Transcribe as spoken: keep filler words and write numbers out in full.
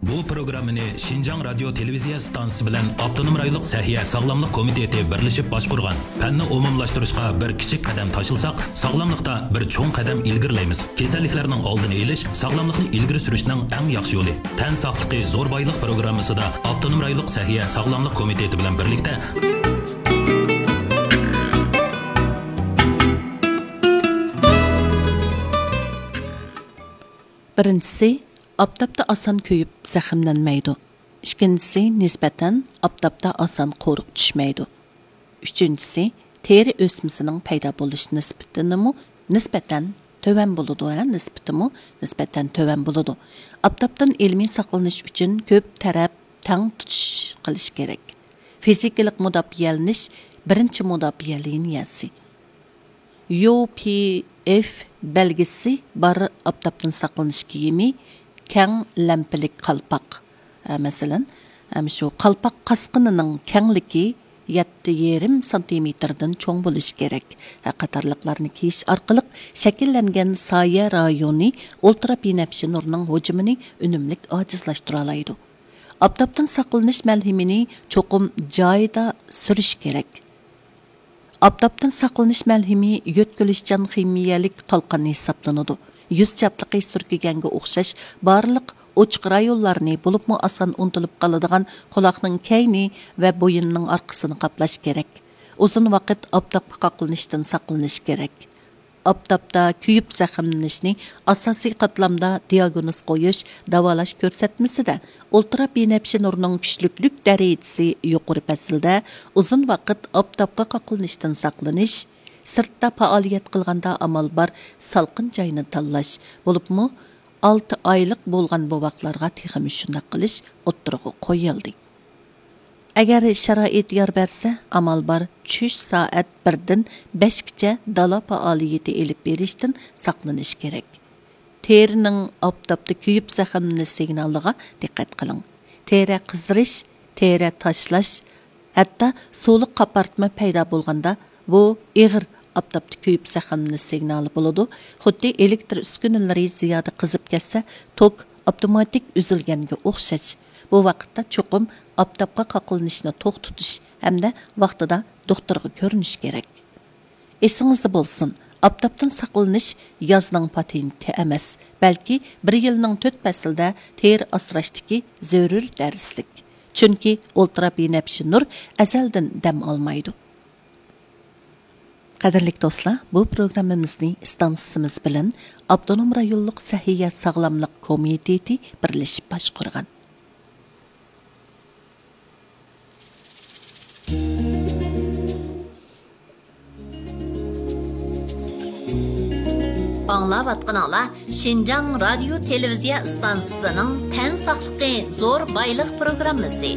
بۇ پروگراممىنى شىنجاڭ رادىيو تېلېۋىزىيە ئىستانسىسى بىلەن ئاپتونوم رايونلۇق سەھىيە ساغلاملىق كومىتېتى بىرلىشىپ باشقۇرغان. پەننى ئومۇملاشتۇرۇشقا بىر كىچىك قەدەم تاشلىساق، ساغلاملىقتا بىر چوڭ قەدەم ئىلگىرىلەيمىز. كېسەللىكلەرنىڭ ئالدىنى ئېلىش، ساغلاملىقنى ئىلگىرى سۈرۈشنىڭ ئەڭ ياخشى يولى. تەن ساقلىقى زور بايلىق پروگراممىسىدا ئاپتونوم رايونلۇق سەھىيە ساغلاملىق كومىتېتى بىلەن بىرلىكتە بىرىنچىسى، ئاپتاپتا ئاسان كۆيۈپ زەخىملەنمەيدۇ. ئىككىنچىسى، نىسبەتەن ئاپتاپتا ئاسان قورۇق چۈشمەيدۇ. ئۈچىنچىسى، تېرە ئۆسمىسىنىڭ پەيدا بولۇش نىسبىتىنىمۇ نىسبەتەن تۆۋەن بولىدۇ، ھە، نىسبىتىمۇ نىسبەتەن تۆۋەن بولىدۇ. ئاپتاپتىن ئىلمىي ساقلىنىش ئۈچۈن كۆپ تەرەپ تەڭ تۇتۇش قىلىش كېرەك. فىزىكىلىق مۇداپىئەلىنىش بىرىنچى مۇداپىئە لىنىيەسى. يۇ پى ئېف بەلگىسى بار ئاپتاپتىن ساقلىنىش كىيىمى، كەڭ لەمپىلىك قالپاق، ئە، مەسىلەن، ئەم، شۇ قالپاق قاسقىنىنىڭ كەڭلىكى يەتتە يېرىم سانتىمېتىردىن چوڭ بولۇشى كېرەك، ئە، قاتارلىقلارنى كىيىش ئارقىلىق شەكىللەنگەن سايە رايونى ئۇلترا بىنەپشە نۇرنىڭ ھۇجۇمىنى ئۈنۈملۈك ئاجىزلاشتۇرالايدۇ. ئاپتاپتىن ساقلىنىش مەلھىمىنى چوقۇم جايىدا سۈرۈش كېرەك. ئاپتاپتىن ساقلىنىش مەلھىمى يۆتكىلىشچان خىمىيەلىك قالقان ھېسابلىنىدۇ. يۈز چاپلىقى سۈركىگەنگە ئوخشاش بارلىق ئوچۇق رايونلارنى، بولۇپمۇ ئاسان ئۇنتۇلۇپ قالىدىغان قۇلاقنىڭ كەينى ۋە بويۇننىڭ ئارقىسىنى قاپلاش كېرەك. ئۇزۇن ۋاقىت ئاپتاپقا قاقلىنىشتىن ساقلىنىش كېرەك. ئاپتاپتا كۆيۈپ زەخىملىنىشنى ئاساسىي قاتلامدا دىياگنوز قويۇش، داۋالاش كۆرسەتمىسىدە ئۇلترا بىنەپشە نۇرنىڭ كۈچلۈكلۈك دەرىجىسى يۇقىرى پەسىلدە ئۇزۇن ۋاقىت ئاپتاپقا قاقلىنىشتىن ساقلىنىش، سىرتتا پائالىيەت قىلغاندا ئامال بار سالقىن جاينى تاللاش، بولۇپمۇ ئالتە ئايلىق بولغان بوۋاقلارغا تېخىمۇ شۇنداق قىلىش ئوتتۇرىغا قويۇلدى. ئەگەر شارائىت يار بەرسە، ئامال بار چۈش سائەت بىردىن بەشكىچە دالا پائالىيىتى ئېلىپ بېرىشتىن ساقلىنىش كېرەك. تېرىنىڭ ئاپتاپتا كۆيۈپ زەخىملىنىش سىگنالىغا دىققەت قىلىڭ. تېرە قىزىرىش، تېرە تاشلاش، ھەتتا سۇلۇق قاپارتما پەيدا بولغاندا، بۇ ئېغىر ئاپتاپتا كۆيۈپ زەخىملىنىش سىگنالى بولىدۇ. خۇددى ئېلېكتر ئۈسكۈنىلىرى زىيادە قىزىپ كەتسە، توك ئاپتوماتىك ئۈزۈلگەنگە ئوخشاش. بۇ ۋاقىتتا چوقۇم ئاپتاپقا قاقلىنىشنى توختىتىش ھەمدە ۋاقتىدا دوختۇرغا كۆرۈنۈش كېرەك. ئېسىڭىزدە بولسۇن، ئاپتاپتىن ساقلىنىش يازنىڭ پاتېنتى ئەمەس، بەلكى بىر يىلنىڭ تۆت پەسلىدە تېرە ئاسراشتىكى زۆرۈر دەرسلىك. چۈنكى ئۇلترا بىنەپشە نۇر ئەزەلدىن دەم ئالمايدۇ. قەدىرلىك دوستلار، بۇ پروگراممىمىزنى ئىستانسىمىز بىلەن ئاپتونوم رايونلۇق سەھىيە ساغلاملىق كومىتېتى بىرلىشىپ باشقۇرغان. ئاڭلاۋاتقىنىڭلار شىنجاڭ رادىيو تېلېۋىزىيە ئىستانسىسىنىڭ تەن ساقلىقى زور بايلىق پروگراممىسى.